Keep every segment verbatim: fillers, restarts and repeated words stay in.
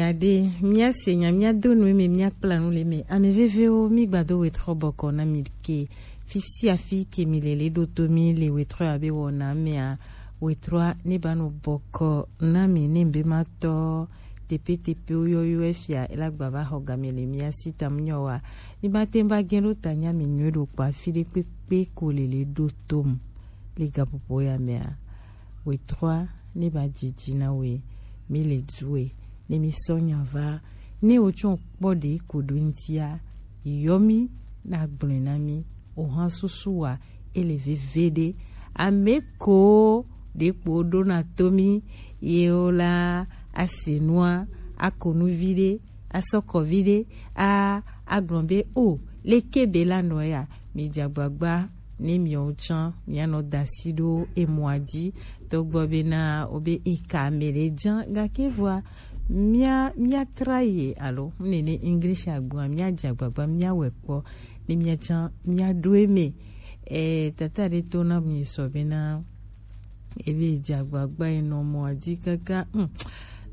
Ade, míase nya, míado nu eme, míakpla nu le eme. Ame vevewo, mígbado wetrɔ bɔkɔ na mi ke. Fi sia fi ke mi le le ɖo to mi le wetrɔ ya be wɔna mea, wetrɔa ne ba nɔ bɔkɔ na mi ne be ma tɔ tepetepewo yɔyɔ efia ela gba va xɔ game le mía si tam nyɔ wa. Mi ba te ba gɛn ɖo ta nya mi nyɔe ɖo kpa fi ɖe kpekpe ko le le ɖo tom le gaƒoƒo ya mea. Wetrɔa ne ba dzidzi na we mi le due ne mi sɔ nya va ne wo tsɔ kpɔ ɖe ko ɖo ŋutia yɔ mi na gblɔe na mi o hã susu wa ele veveɖe. Ame ko ɖe kpo ɖona to mi ye wo la ase nua ako nu vi ɖe asɔkɔ vi ɖe a agblɔ be o leke be la nɔ ya mi dze agbagba ne miawo tsã mianɔ da asi ɖo emɔa dzi togbɔ bena wobe eka ame ɖe dzã gake vɔa mía míatra ye alo nene English agboa míadze agbagba míawɔe kpɔ ne míatsã míaɖo eme. E, tata ɖe to na mi sɔ bena ebe dze agbagba yi nɔ mɔa dzi kaka. Hmm.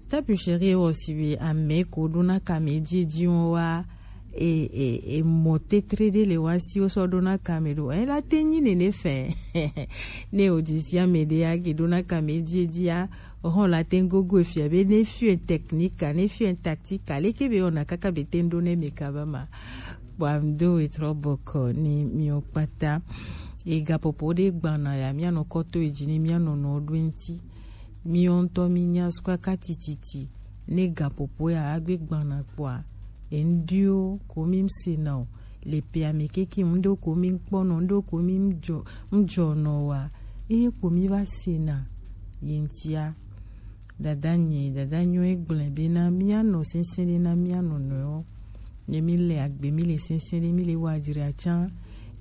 Tapu chéri wɔ si be ame ko ɖona kame dziedzi wɔn wa e, e, e mɔ tetre ɖe le wa si wo sɔ ɖona kame ɖo e la te nyi nene fɛ. Ne o dzi si ame ɖe ya ke ɖona kame dziedzia o hɔn la te gogo efia be ne fiɔ technique ne fiɔ tactique leke be ona kaka be te ɖo ne me kaba ma. Bwa mi do wetrɔ bɔkɔ ni mi o kpata e gapopo ɖe gbana ya mi anɔ kɔto edzi ni mi anɔ nɔ ɖo ŋti. Mi ŋutɔ mi nya sukaka tititi ne gapopo ya agbe gbana kpɔa eŋɖiwo ko mi sena o le pea me keke ŋɖewo ko mi kpɔnɔ ŋɖewo ko mi ŋdzɔ ŋdzɔnɔ wa eye ko mi va sena ye ŋtia. Dada nye dada nyɔ egblẽ bena mianɔ sesẽ ɖe na mia nɔnɔewo. Ne mi le agbe mi le sesẽ ɖe mi le wa dzra tsã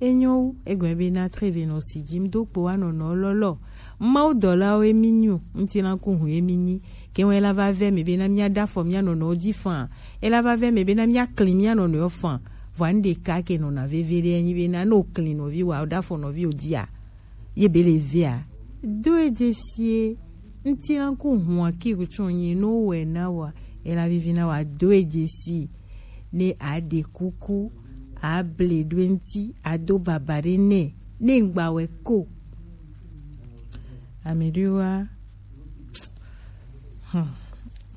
enyo wu egɔme bena treve nɔ si dzi mi do kpo wa nɔnɔ lɔlɔ. Mawu dɔlawo emi nyo ŋutilã ku hu emi nyi ke ŋu ela va vɛ me bena mia ɖa afɔ mia nɔnɔwo dzi fã ela va vɛ me bena mia kli mia nɔnɔewo fã. Vɔa nu ɖeka ke nɔna veve ɖe enyi bena ne o kli nɔvi wa o ɖa afɔ nɔvi o dzia ye be le vea do edze sie. Ŋutilã ku hua ki ku tsɔ nyi no wɛ na wa ela vivi na wa do edze si ne a ɖe kuku a ble ɖo eŋti a do baba ɖe nɛ ne ŋgba wɛ ko. Ame ɖewoa hmm,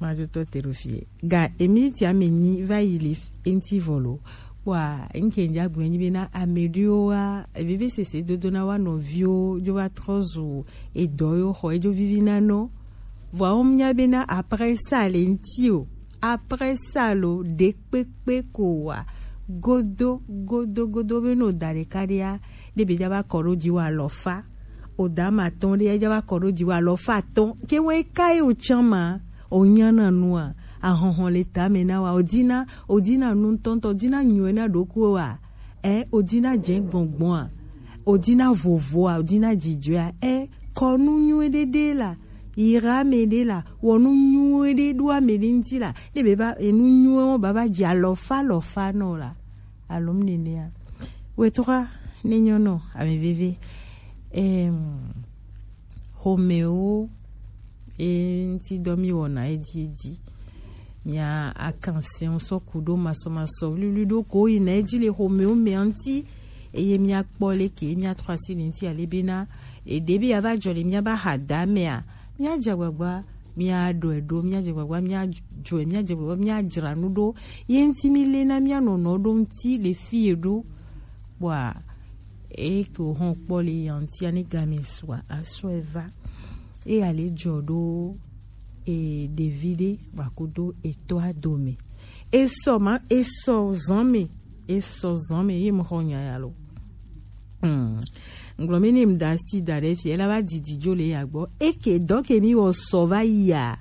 madzo tɔ te ɖo fie ga emi ti ame nyi va yi le eŋti vɔ lo. Wa ŋke ŋdza gblɔ nyi bena ame ɖewoa veve sese dodo na wa nɔviwo dzo va trɔ zu edɔ yo xɔ edzo vivi na nɔ. Vɔa wo nya bena après ça le ŋti o après ça lo ɖe kpekpe ko wa godo godo godo be no da ɖeka ɖea ne be dza va kɔ ɖo dzi wa alɔfa o da ma tɔn ɖe dza va kɔ ɖo dzi wa alɔfa tɔn ke wɛ ka ye o tsã ma o nya na nua ahɔhɔn le tame na wa o dina o dina nu ŋutɔŋutɔ o dina nyuie na ɖokuiwo wa ɛ o dina dze gbɔngbɔn a o dina vovo a o dina dzidzɔe a ɛ kɔ nu nyuie ɖe ɖe la yira ame ɖe la wɔ nu nyuie ɖe ɖo ame ɖe ŋti la ne be va enu nyuie wo baba dzi alɔfa alɔfa nɔ la. Alo mu nenea wetɔa ne nyɔnɔ ame veve em xomewo e ŋti dɔ mi wɔna edzi edzi mia akan sɛn sɔ ku ɖo masɔmasɔ wliwli ɖo ko yina edzi le xomewo mea ŋti eye miakpɔ leke miatrɔ asi le ŋti ale bena ɖeɖe be yeava dzɔ le miaba ha da mea miadze agbagba miaɖɔe ɖo miadze agbagba miadzɔe miadze agbagba miadzra nu ɖo ye ŋti mi le na mianɔnɔ ɖo ŋti le fi ye ɖo kpɔa eke wo hɔn kpɔ le ya ŋtia ne game sua asɔe va eya le dzɔ ɖo e ɖevi ɖe wakudo etɔa dome esɔ ma esɔ zɔn me esɔ zɔn me ye mo xɔ nya ya lo hmm. Ngblɔ mi ni mu da si da ɖe fi ela va didi dzo le ya gbɔ eke dɔ ke mi wɔ sɔ va yi ya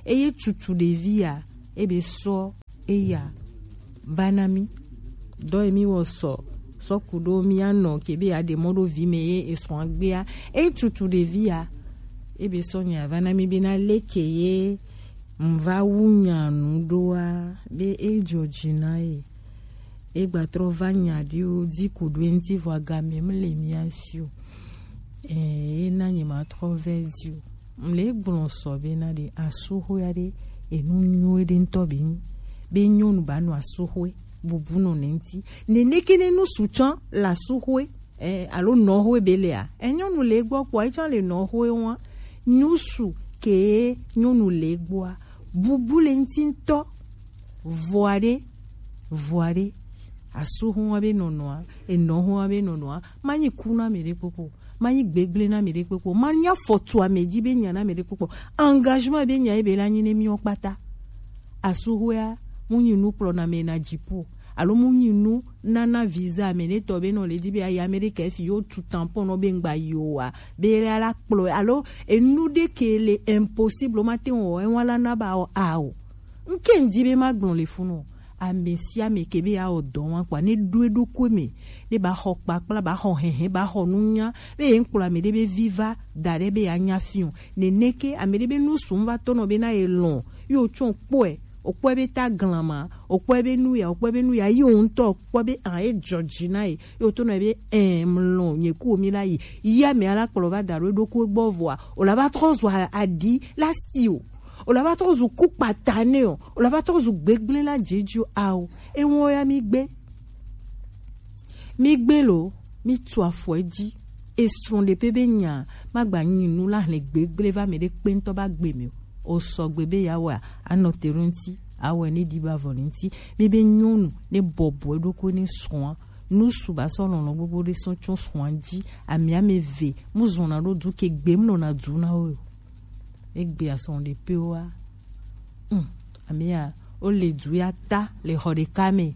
eye tutu ɖevi ya ebe sɔ eya va na mi dɔ emi wɔ sɔ sɔ ku ɖo mia nɔ ke be ya ɖe mɔ ɖo vi me ye esɔ agbea etutu ɖevi ya ebe sɔ nya va na mi be na leke ye ŋva wu nya nu ɖoa be e dzɔ dzi na ye e gba trɔ va nya ɖiwo di ku ɖo eŋti vɔ agame mle mia si o e na nye ma trɔ vɛ di o mle gblɔ sɔ be na ɖe asuxo ya ɖe Enu nyuie ɖe ŋutɔ be nyi be nyɔnu ba nɔ asuxwe bubu nɔ ne ŋuti. Nene ke ne nu su tsã le asuxwe, eh, alo nɔxwe be lea, eh, nyɔnu le gbɔ kpɔ, etsã le nɔxwe wa. Nu su ke nyɔnu le gbɔa, bubu le ŋuti ŋutɔ. Vɔa ɖe, vɔa ɖe, asuxwe wa be nɔnɔa, enɔxwe wa be nɔnɔa, ma nyi ku na mi ɖe kpokpo. Ma nyi gbegble na mi ɖe kpekpe o. Ma nyi afɔtu ame dzi be nya na mi ɖe kpekpe o. Engagement be nya ye be la nyi ne miɔ kpata. Asuxwea, mu nyi nu kplɔ na me na dzipo. Alo mu nyi nu nana visa ame ɖe tɔ be nɔ le di be ayi Amerika efi yo tu tampon nɔ be ŋgba yi o wa. Be la la kplɔ. Alo enu ɖe ke le impossible ma te wɔ, ewa la na ba o a o. Nke ŋdi be ma gblɔ le funu o. Ame sia ame ke be ya wɔ dɔ wa kpa, ne ɖo eɖokui me, ne ba xɔ kpakpla, ba xɔ hɛhɛ, ba xɔ nunya, be ye ŋkplɔ ame ɖe be vi va da ɖe be ya nya fi o. Nene ke ame ɖe be nu sum va tɔ nɔ be na ye lɔn, yo tsɔ kpɔe, o kpɔe be ta glan ma, o kpɔe be nu ya, o kpɔe be nu ya, yi o ŋutɔ kpɔ be an e dzɔ dzi na ye, yo to nɔ be ɛn mlɔ nye ku mi la yi, yi ame ala kplɔ va da ɖo eɖokui gbɔ vɔa, o la va trɔ zɔ aɖi la si o. O la va trɔ zu ku kpata nɛ o. O la va trɔ zu gbegble la dzedzo ao. Eŋɔ ya mi gbe. Mi gbe lo, mi tu afɔ edzi. Esrɔ̃ ɖe pe be nya, ma gba nyi nu la hlẽ gbegble va me ɖe kpe ŋutɔ ba gbe mi o. O sɔgbe be ya wa, anɔ te ɖo ŋuti, awɛ ne ɖi ba vɔ le ŋuti. Mi be nyɔnu ne bɔbɔ eɖokui ne srɔ̃a. Nu su ba sɔ lɔlɔ gbogbo ɖe sɔ tsɔ srɔ̃a dzi. Ami ame ve, mu zɔna ɖo du ke gbe mu nɔna du na wo. Egbe asɔn ɖe pe wa. Hmm. Amia, o le du ya ta le xɔ ɖeka me.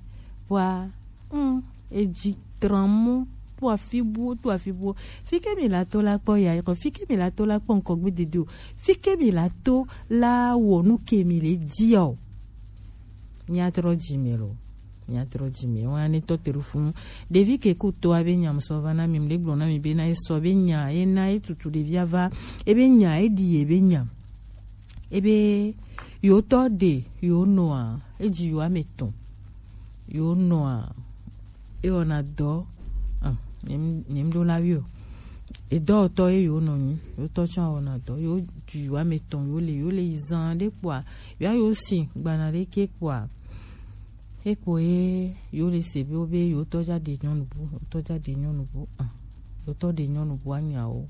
Wa, hmm, edzi tran mo, to afi buwo, to afi buwo. Fi ke mi la to la kpɔ ya, fi ke mi la to la kpɔ ŋkɔ gbe dede o. Fi ke mi la to la wɔ nu ke mi le di o. Nya trɔ dzi me lo. Nya trɔ dzi me. Wa ne tɔ te ɖo funu. Ɖevi ke ku to a be nya musɔ va na mi, mle gblɔ na mi be na esɔ be nya, e na e tutu ɖevi ava. E be nya, e ɖi ye be nya. Ebe yewo tɔ ɖe yewo nɔa, edzi yewo ame etɔ̃. Yewo nɔa, ewɔna dɔ, ah, nyem, nyem ɖo la wi o. Edɔwɔtɔ ye yewo nɔ nyi, yewo tɔ tsɔ wɔna dɔ, yewo dzi yewo ame etɔ̃, yewo le, yewo le yi zan ɖe kpɔa, yewo ayo si gbana ɖe ke kpɔa, ekpo ye yewo le se be wo be yewo tɔ dza ɖe nyɔnu bu, yewo tɔ dza ɖe nyɔnu bu, ah, yewo tɔ ɖe nyɔnu bu anyawo.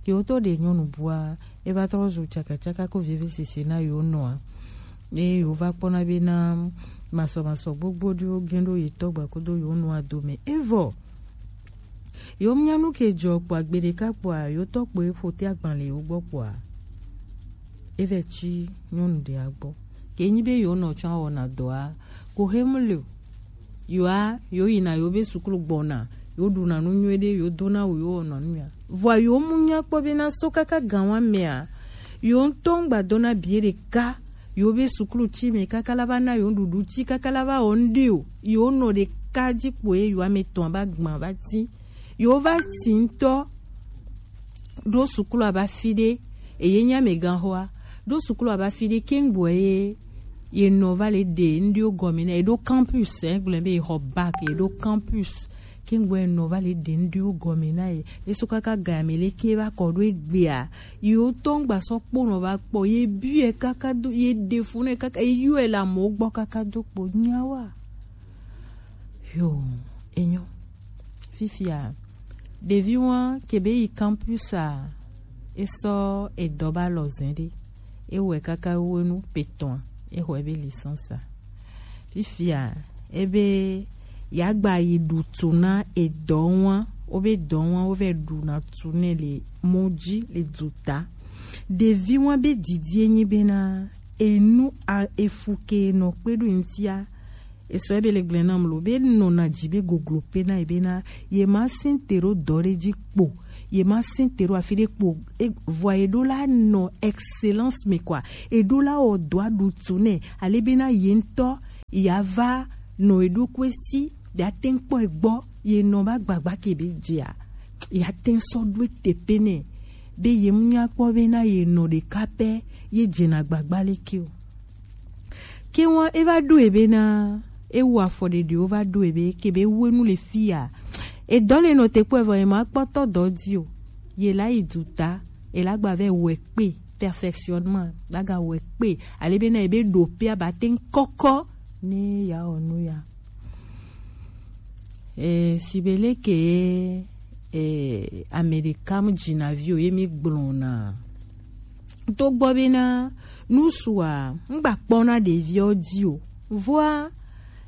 Ke wotɔ ɖe nyɔnu bua, eva trɔ zu tsakatsaka ko vevesese na yewo nɔa. Eye yewo va kpɔna be na masɔmasɔ gbogbo ɖewo gɛ̃ ɖo yetɔ gba kodo yewo nɔa dome. Evɔ, yewo nya nu ke dzɔ kpɔa gbe ɖeka kpɔa, yewo tɔ kpo eƒo te agbalẽ yewo gbɔ kpɔa, evɛ tsi nyɔnu ɖea gbɔ. Ke nyi be yewo nɔ tsɔ awɔna dɔa, ko xe mu le o. Yewoa, yewo yina yewo be suklu gbɔna, yewo ɖuna nu nyuie ɖe, yewo dona awu, yewo wɔna nu ya. Vɔa yewo mu nya kpɔ be na so kaka gan wa mea, yewo ŋutɔ ŋgba dona bie ɖeka, yewo be suklu tsi me kaka la va na yewo nuɖuɖu tsi kaka la va wɔ nuɖe o. Yewo nɔ ɖeka dzi kpo ye yewo ame etɔ̃ va gbã va ti. Yewo va si ŋutɔ ɖo suklu aba fi ɖe, eye nya me gan xɔa, ɖo suklu aba fi ɖe kengboe ye, ye nɔ va le ɖe ŋɖewo gɔme na ye ɖo campus, eh, gblɔ be ye xɔ bac ye ɖo campus. Kengboe ye nɔ va le ɖe ŋɖewo gɔme na ye. Ye so kaka ga me le ke va kɔ ɖo egbea, yewo tɔ ŋgba sɔ kpɔ nɔ va kpɔ, ye biɛ kaka do, ye ɖe fu nɛ kaka, ye yɔe le amewo gbɔ kaka do kpo nyawa. Yo, enyo. Fifia, ɖevi wa ke be yi campus a, esɔ edɔ ba lɔ zɛn ɖe. Ewɔe kaka wenu petɔa, exɔ ebe licence a. Fifia, ebe yagba yi ɖu tu na edɔ wa, wobe dɔ wa, wovɛ ɖuna tu nɛ le mɔ dzi le duta. Ɖevi wa be didi enyi bena, enu a efu ke nɔ kpe ɖo ŋtia, esɔ ebe le gblẽ nam lo, be nɔna dzi be goglo pe na ye bena, ye ma sɛn te ɖo dɔ ɖe dzi kpo, ye ma sɛn te ɖo afi ɖe kpo, e, vɔa ye ɖo la nɔ excellence me kɔa, ye ɖo la wɔ dɔa ɖu tu nɛ, ale bena ye ŋutɔ ya va nɔ ye ɖokui si, ya te ŋu kpɔ ye gbɔ, ye nɔ ba gbagba ke be dzia, ya te ŋu sɔ ɖo ete pe nɛ, be ye mu nya kpɔ bena ye nɔ ɖeka pɛ, ye dzena gbagba leke o. Ke wa eva ɖo ebe na, ewu afɔ ɖeɖewo va ɖo ebe ke be wenu le fia. Edɔ le nɔ te kpɔ evɔ ye ma kpɔtɔ dɔ di o. Ye la yi duta, ye la gba vɛ wɛ kpe. perfectionnement, baga wɛ kpe, ale be na ebe ɖo pe aba te ŋkɔkɔ ne ya ɔ nu ya. E, si be leke e, Amerika mu dzina vi o ye mi gblɔ na. To gbɔ be na nu sua, ŋgba kpɔ na ɖeviɔ di o. Voa,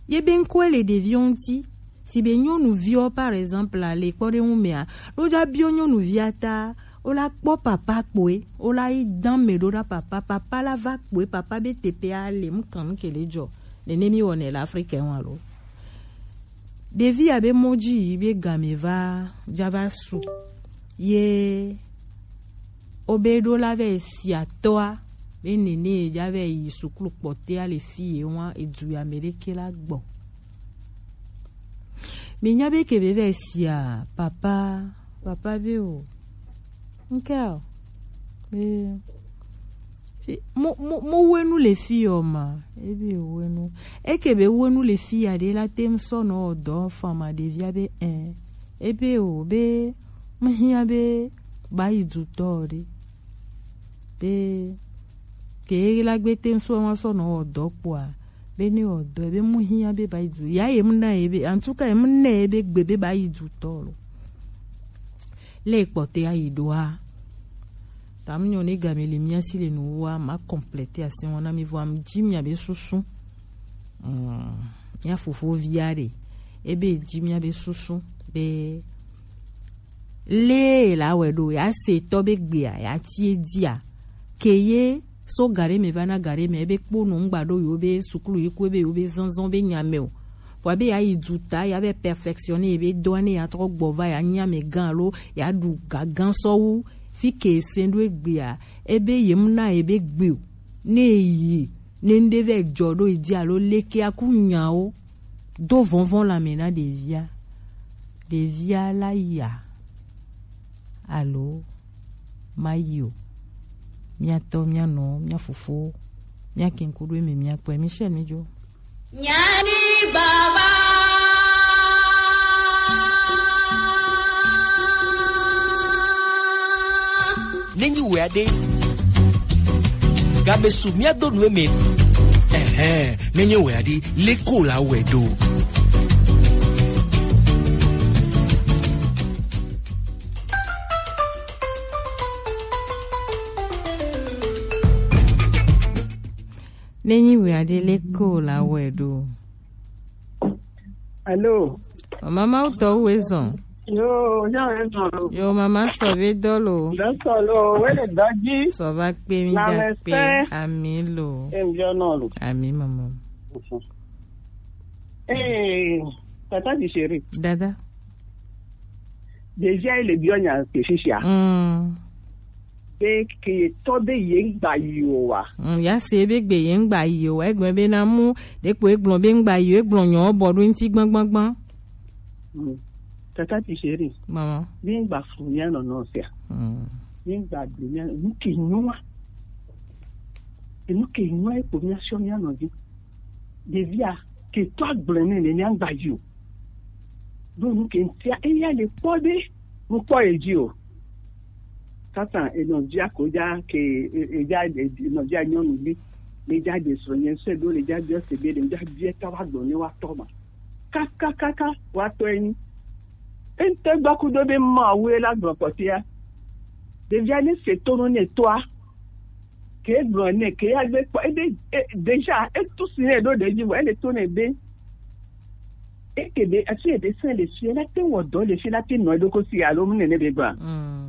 ye be ŋkɔe le ɖeviɔ ŋti. Si be nyɔnuviɔ, par exemple, le kpɔ ɖe ŋu mea, ɖo dza biɔ nyɔnuvia ta, o la kpɔ papa kpoe, o la yi dan me ɖo ɖa papa, papa la va kpoe, papa be tepe a le, mu kan mu ke le dzɔ. Nene mi wɔnɛ le Afrique wa lo. Ɖevi ya be mɔ dzi yi be game va dza va su. Ye o be ɖo la vɛ si atɔa be nene ya vɛ yi suklu kpɔtea le fi ye wa edu ya me ɖeke la gbɔ. Mi nya be ke be vɛ sia papa, papa be o. Ŋkɛ o. Be fi, mo, mo, mo wenu le fi yɔ ma. Ebe wenu. Eke be wenu le fi ya ɖe la tem sɔ nɔ dɔ fa ma ɖevia be ɛ. Ebe o be mehia be ba yi dutɔ ɖe. Be ke la gbe tem sɔ ma sɔ nɔ dɔ kpɔa. Be ne wɔ dɔ be mu hiã be ba yi du. Ya ye mu na ye be, en tout cas, ye mu na ye be gbe be ba yi du tɔ lo. Le kpɔte ya yi doa. Ta mu nyɔ ne game le mia si le nu wa ma compléter asi wɔna mi vɔ am dzi mia be susu. Mm, mia fofo via ɖe. Ebe dzi mia be susu be le la wɛ ɖo ya se tɔ be gbea ya tie dia. Ke ye so gaɖe me va na gaɖe me ebe kpo nɔ ŋgba ɖo yewo be suklu yi ku ebe yewo be zɔnzɔn be nya me o. Vɔa be ya yi du ta ya be perfectionner ebe dɔa ne ya trɔ gbɔ va ya nya me gã alo ya ɖu gagan sɔ wu fi ke se ɖo egbea ebe ye mu na ebe gbe o. Ne yi ne ŋɖe vɛ jɔ ɖo yi di alo leke aku nya o. Do vɔnvɔn la me na ɖevia. Ɖevia la ya. Alo ma yi o. Mia tɔ, mia nɔ, mia fofo, mia kinkuɖo eme mia kpɔe. Michel mi jo. Nyani baba. Nenyi wɛ aɖe. Gabe su mia do nu eme. Ɛhɛn, nenyi wɛ aɖe, leko la wɛ do. Nenyi wɛ aɖe leko la wɛ ɖo. Alo. Mama ma wutɔ wu ezɔn. Yo, ya ezɔn lo. Yo, mama sɔ be dɔ lo. Dɔ sɔ lo, we le dɔ ji. Sɔ va kpe mi ga kpe. Ami lo. Em jo no lo. Ami mama. Eh, tata di chéri. Dada. Déjà, il est bien, il y a un péché, hein. Mm. Be ke ye tɔ be ye ŋgba yi o wa. Mm, ya se be gbe ye ŋgba yi o wa. Egblɔ be na mu, ɖeko egblɔ be ŋgba yi o, egblɔ nyɔ bɔ ɖo ŋti gbagbagba. Mm. Tata ti chéri. Mama. Mi ŋgba fu mia nɔ nɔ sia. Mm. Mi ŋgba du mia nu ke nyua. Enu ke nyua ekpo mia sɔ mia nɔ dzi. Ɖevia ke tɔ agblɔe nɛ nɛ mia ŋgba yi o. Ɖo nu ke ŋtia eya le kpɔ ɖe ŋkpɔ ye dzi o. Satan enɔvia ko dza ke e- edza e- enɔvia nyɔnuvi le dza ɖe srɔ̃nye se ɖo le dza biɔ se be le dza biɛ ta wa gblɔ ne wa tɔ ma. Kakakaka wa tɔ enyi. Ente gba kudo be ma we la gblɔ kpɔtia. Ɖevia ne se to no ne toa. Ke gblɔ nɛ ke ya gbe kpɔ ebe e, déjà etu si nɛ ɖo ɖe dzi vɔ ele to nɛ be eke be afi ebe sɛn le fi la te wɔ dɔ le fi la te nɔ eɖo ko si alo mu nene be gba. Mm.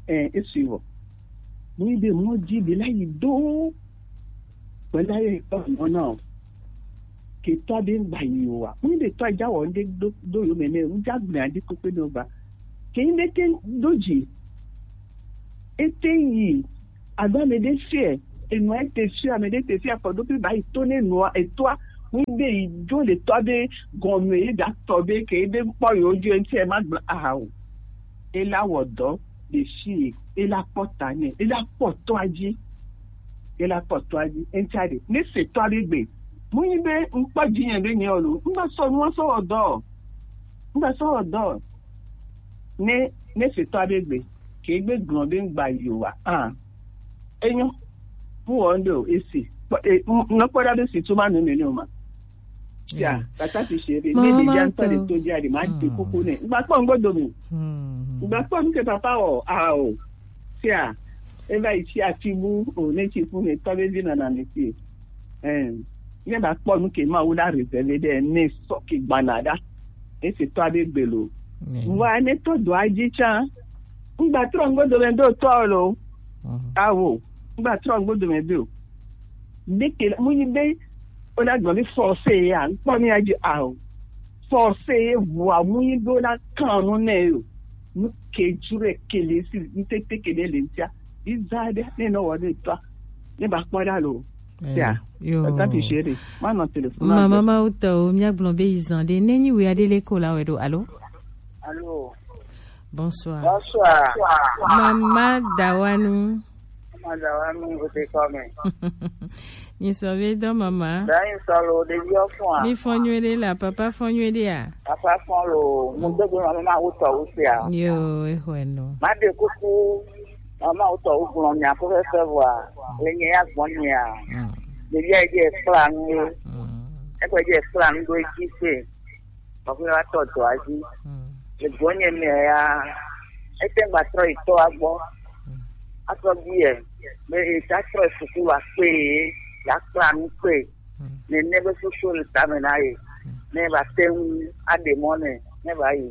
Ɛ esu vɔ mu yi be mɔ dzi be la yi do gbɛla ye kpɔ mɔ na o. Ke tɔ be ŋgba yi o wa mu yi be tɔ dza wɔ ŋde do do yo mɛ nɛ ŋdza gblɛ adi kpekpe ne o gba ke yi be te do dzi. Ete yi alo ame ɖe fiɛ enua ete fiɛ ame ɖe te fiɛ afɔ ɖo ƒe ba yi to ne nua etoa ŋu be yi dzo le tɔa be gɔme yi da tɔ be ke be kpɔ yewo dzo ŋutɛ ma gblɔ aha o. Ela wɔ dɔ ɖe fi ela kpɔ ta nɛ ela kpɔ tɔa dzi ela kpɔ tɔa dzi eŋutsa ɖe ne se tɔa be gbe mu yi be ŋkpɔ dzi nye be nye o lo ŋgba sɔ nua sɔ wɔ dɔ o ŋgba sɔ wɔ dɔ o. Ne ne se tɔa be gbe ke gbe gblɔ be ŋgba yi o wa ah. Enyo. Mu wɔ ŋɖe o, esi. Kpɔ-, e, m-, nɔkpɔ ɖa be si tso ma nɔ nene o ma. Ya, tata ti se ɖe. Ne ɖevia ŋutɔ ɖe to dzia ɖe, ma ɖe kuku nɛ. Ŋgba kpɔ ŋgbo dome. Ŋgba kpɔ nu ke papa wɔ, a o. Sia, eva yi tsi ati bu o, ne tsi fu ne tɔ be vi nana me tie. Ɛn, ne ba kpɔ nu ke ma wu la réservé ɖe, ne sɔ ke gbana ɖa. Esi tɔ abe gbe lo. Wa ne tɔ do adzi tsa. Ŋgba trɔ ŋgbo dome do tɔ lo. Awo, ŋgba trɔ ŋgbo dome do. Ɖeke mu yi be wona gblɔ be forcé ya, ŋkpɔ mi adzi ao. Forcé ye vɔa mu yi be wona kan nu nɛ yo. Nu ke ju ɖe ke le si, ŋtete ke ɖe le ŋtia. Iza ɖe ne nɔ wɔ ɖe tɔa. Ne ba kpɔ ɖa lo. Ya. Yo. Tata ti se ɖe. Ma nɔ téléphone. Mama ma utɔ o, mia gblɔ be izan ɖe. Ne nyi wi aɖe le ko la wɛ ɖo. Alo? Alo. Bonsoir. Bonsoir. Mama Dawanu. Mama Dawanu, o te kɔ mɛ. Ni sɔ be dɔ mama. Da ni sɔ lo, ɖeviwo fɔn a? Mi fɔn nyuie ɖe la, papa fɔn nyuie ɖe a? Papa fɔn lo, mu do gbe mama ma wutɔ wusi a? Yo, e hwɛ no. Ma ɖe kuku, mama wutɔ wu gblɔ nya ko fɛ fɛ vɔa, le nye ya gbɔ nya. Mm. Ɖevia yi dzi ekpla nu ye. Mm. Ekpla nu ɖo edzi se. Mɔkpɔ va tɔ dɔa dzi. Mm. Le gbɔnye mea ya, ete gba trɔ yi tɔa gbɔ. Mm. Atrɔ bi yɛ, be eta trɔ yi suku va kpe ye, ya kpla nu kpe. Mm. Nene be susu le tame na ye. Mm. Ne va te ŋu aɖe mɔ nɛ, ne va yi.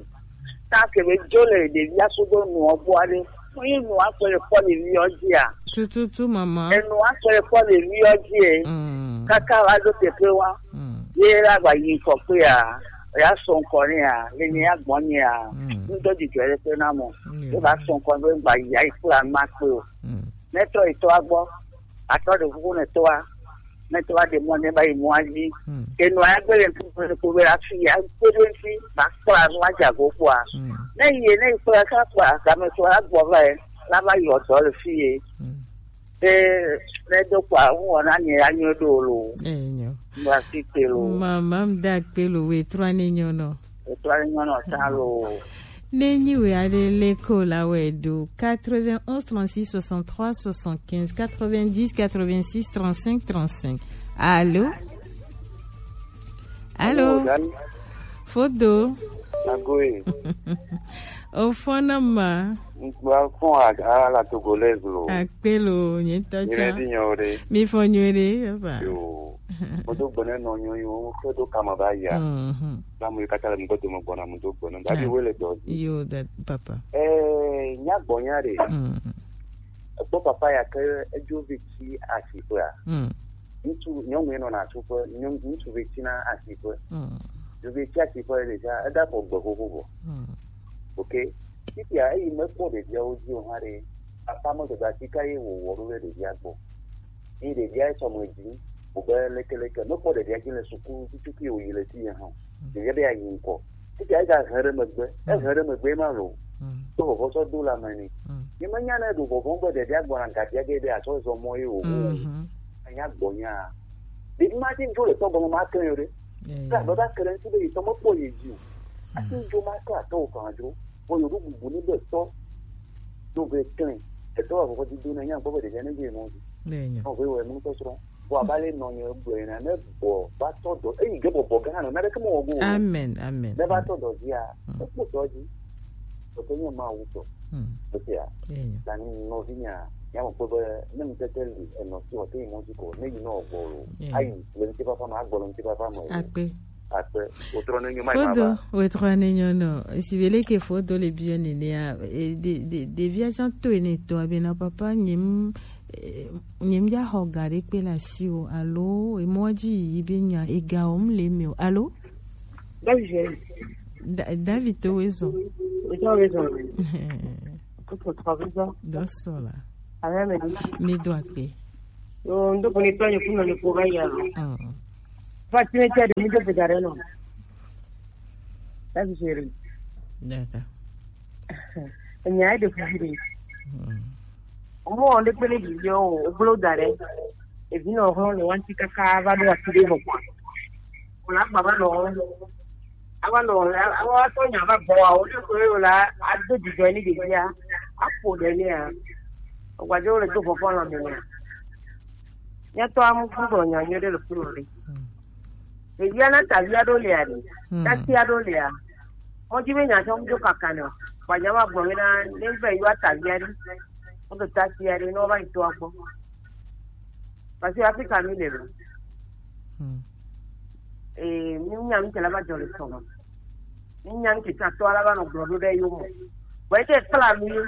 Ta ke be dzo le ɖevia sudo nuɔ gbɔ aɖe. Mu yi nu akpɔ le kpɔ le viɔ dzia? Tututu mama. Enu akpɔ le kpɔ le viɔ dzie. Mm. Kaka va do teƒe wa. Mm. Ye la gba yi ŋkɔ kpea, ya sɔ ŋkɔ nɛ ya, le nye ya gbɔ nye ya. Mm. Ŋdɔ dzidzɔ ɖe kpe na mɔ. Mm. Ye va sɔ ŋkɔ be gba yi ayi kpla ma kpe o. Mm. Ne trɔ yi tɔa gbɔ, atɔ ɖe kuku ne tɔa, ne tɔa ɖe mɔ ne va yi mɔa dzi. Mm. Enu agbe le ŋku be ko be la fi ya, ko be fi, ba kpla nu adza go kpɔa. Mm. Ne yi ne yi kpla ka kpla, game tɔa gbɔ va yi, la va yi ɔdɔ le fi ye. Mm. Be, be do kpɔa, ŋu wɔna nye ya nyo ɖo lo. Enyo. Ba si te lo. Mama mda kpe lo, we trɔ ne nyo no. We trɔ ne nyo no ta lo. Ne nyi we aɖe le ko la we do. Quatre-vingt-onze trente-six soixante-trois soixante-quinze, quatre-vingt-dix quatre-vingt-six trente-cinq trente-cinq. Allô? Allô? Allô, Dan? Fodo. Agoe. O fɔna ma. Ŋkpa fɔn a, a la Togolese lo. Akpe lo, nye tɔ tsa. Nyuie ɖi nyawo ɖe. Mi fɔ nyuie ɖe, papa. Yo. Mo do gbɔ ne nɔ nyo yo, ke do kama ba ya. Mhm. La mo kata le mo do mo gbɔna mo do gbɔ ne. Dabi we le dɔ. Yo, that papa. Eh, nya gbɔ nya ɖe. Mhm. Ekpɔ papa ya ke edzo vi tsi asiƒea. Mm. Ŋutsu, nyɔnu ye nɔna asiƒe, nyɔnu, ŋutsuvi tsina asiƒe. Mm. Ŋutsuvi tsi asiƒe ɖe tsã, eda xɔ gbe xoxo vɔ. Mm. Ok. Fifia eyi mekpɔ ɖeviawo dzi o hã ɖe, papa me dada asi ka ye wòwɔ ɖo ɖe ɖevia gbɔ. Eye ɖevia etsɔ me dzi, wòbe lekeleke, mekpɔ ɖevia dzi le suku tututu ye wòyi le fi ye hã o. Ɖevia be yeayi ŋkɔ. Fifia ega he ɖe megbe, ehe ɖe megbe ma lo. Mm. Do vɔvɔ sɔ do la me ni. Mm. Ye menya ne ɖo vɔvɔ be ɖevia gbɔna gadia ge be atsɔ zɔ mɔ ye o. Mhm. Anya gbɔ nya. Ɖevi ma ti dzo le tɔ gɔme ma ke yo ɖe. Eh. Ka be ba ke ɖe ŋuti be yi tɔ mekpɔ ye dzi o. Mm. Ati dzo ma ke atɔ o kan dzo. Bo yo ɖo bubu ni be tɔ. Do be klin. Etɔ wa vɔvɔ dido na nya gbɔ be ɖevia ne dze mɔ dzi. Ne nya. Ɔ be wɔ enu tɔ srɔ̃. Vɔ abe ale nɔnye gblɔe na, ne gbɔ va tɔ dɔ, eyi ge bɔbɔ gã nɔ, naneke mewɔ go o. Amen, amen. Ne va tɔ dɔ dzia, mm, ekpɔ dɔ dzi. Gake nye Mawu tɔ. Mm. Esia, yeah, yeah, ta ni nɔvinya, nya me kpɔ be ne ŋutete li, enɔ si wɔ te yi mɔ dzi ko, ne yi nɔ gbɔ lo. Yeah. Ayi, le ŋutifafa me, agbɔ le ŋutifafa me o. Akpe. Akpe. Wotrɔ ne nyo ma. Fodo, ma va. Wotrɔ ne nyo no. Esi bele ke fodo le biɔ ne ne ya, e, de, de, de via jan to ne to abena papa nyem. Eh, nye mdza xɔ ga ɖe kpe le asiwò alo emɔa dzi yiyi be nya ega wɔm le eme o. Alo? David. Da-, David to wezɔ. Wezɔ, wezɔ. Kuku tɔ wezɔ. Dɔ sɔ la. Amen. Mi do akpe. Yo, ndo kone tɔ nye kuno ne ko ba ya. Mm. Fa tine tsa de mi do pe dare no. David. D'accord. Enya ɖe fu ɖe. Mm. Ɔmɔ ɖe kple ɖeviwo o, wogblɔ da ɖe. Evi nɔ hlɔ̃ le wanti kaka va ɖo ati ɖe vɔ kpɔa. Wòle agba va nɔ. Ava nɔ, ava tɔ nya va gbɔ wa, wòle ko ye wòle ado dzidzɔ ne ɖevia. Aƒo ɖe nea. Ogbaje wo le do vɔvɔ lɔ me nɛ. Mía tɔ amu fu do nya nyuie ɖe le funu ɖe. Ɖevia na tavia ɖo lia ɖe. Tasia ɖo lia. Mɔdzi be nya tsɔ ŋdo kaka nɛ. Gbanya ma gbɔ mi na ne be yua tavia ɖe. Wo do tasia ɖe ne wo va yi toa gbɔ. Parce que Afrika mi le lo. Ee, mi nya mi tela va jɔ le sɔgɔ. Ni nya ŋke tsa tɔ ala va nɔ gblɔ ɖo ɖe yo mo. Bɔ ete kpla nu ye.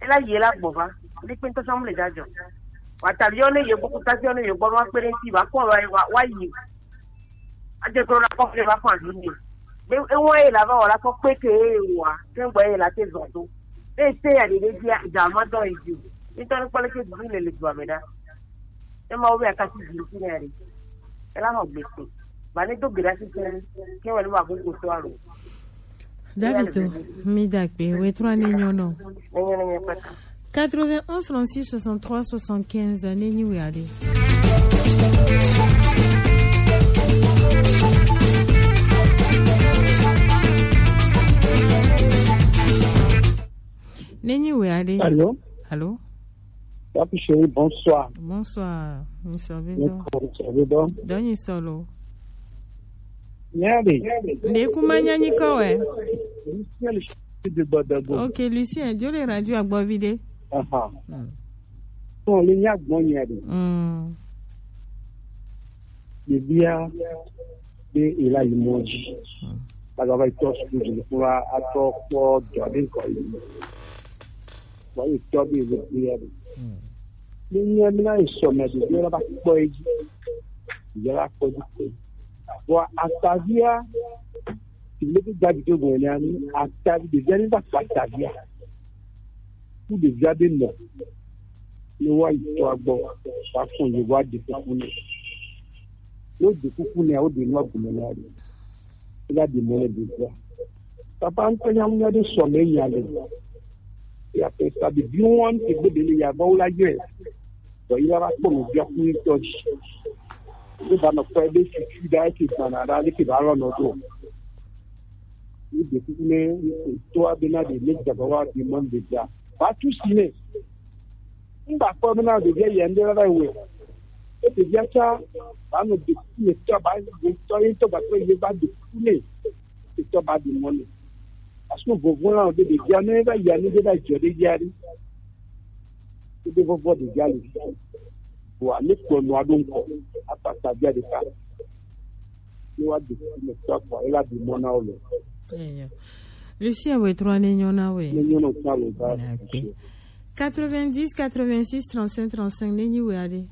Ela yi la gbɔ va. Ni kpe ŋutɔ sɔmu le da jɔ. Wa ta yɔ ne ye gbɔ kuta yɔ ne ye gbɔ wa kpe ɖe ŋuti va kɔ wa wa wa yi. Adze klo na kɔ fle va fɔ avi ne. Be ewa ye la va wɔ la kɔ kpe ke ye wa. Ke gbɔ ye la te zɔ do. Be te ya de de dia da ma dɔ yi ju. Ni tɔ ne kpɔ le ke du le le du ame da. Ne Mawu be akasi dzi ŋuti ne ya ɖe. Ela nɔ gbe kpe. Ba ne do gbe ɖa sisi ne. Ke wɔ ne ma bu ko to alo. David, mi da kpe, we trɔ ne nyɔ nɔ. Ne nyɔ ne nyɔ kpata. Quatre-vingt-onze trente-six soixante-trois soixante-quinze, ne nyi we aɖe. Ne nyi we aɖe. Allô? Allô? Papi chéri, bonsoir. Bonsoir. Nsɔ be dɔ. Nsɔ be dɔ. Dɔ nyi sɔlo. Nyari. Nde kuma nyanyi kɔwɛ. Lucien le chef de Gbadagbo. Ok, Lucien, jo le radio agbɔ vi de. Aha. Hmm. Bon, le nya gbɔ nyari. Hmm. Ɖevia be ela yi mɔ dzi. Agava yi tɔ suku dzi kura atɔ kpɔ dɔ ɖe ŋkɔ yi. Wa yi tɔ be le be ya ɖe. Ne nye mina yi sɔ me ɖevia la va kpɔ yi dzi. Ya la kpɔ dzi kpɔ. Wa atavia, ti le bi gba dzi to go ne ani atavi ɖevia ni va kpɔ atavia. Ku ɖevia be nɔ. Ne wa yi tɔ gbɔ, wa fɔ ye wa de kuku ne. Wo de kuku ne, wo de nua gume na ɖe. Ega ɖi mɔ le ɖevia. Papa ŋutɔ nya ŋu nya ɖe sɔ me nya le. Ya pe sa bi bi wɔn te gbe ɖe le ya va wo la yɔe. Dɔ yi la va kpɔ nɔvia ku ŋutɔ dzi. Wo va nɔ kpɔ ebe fifi ɖa eke gbana ɖa leke va lɔ nɔ do. Ni ɖe kuku ne ŋutɔa be na ɖe ne dza va wa ɖi mɔ ɖevia. Va tu si ne. Ŋgba kpɔ be na ɖevia yɛ ŋɖe va wɛ. E ɖevia tsa ba nɔ ɖe kuku ne tɔ ba ɖe tɔ ye tɔ ba kpɔ ye va ɖe kuku ne. E tɔ ba ɖe mɔ ne. Parce que vovo la ɖe ɖevia ne va yɛ ne ɖe va jɔ ɖe via ɖe. Ebe vɔvɔ ɖevia le. Wa ne kpɔ nua ɖo ŋkɔ. Apata via ɖeka. Ne wa ɖe kuku ne tɔ kpɔ ela ɖe mɔ na wo le. Eya. Lucien, we trɔ ne nyɔ na we. Ne nyɔ na ta le va. Agbe. Quatre-vingt-dix, quatre-vingt-six, trente-cinq, trente-cinq, ne nyi we aɖe.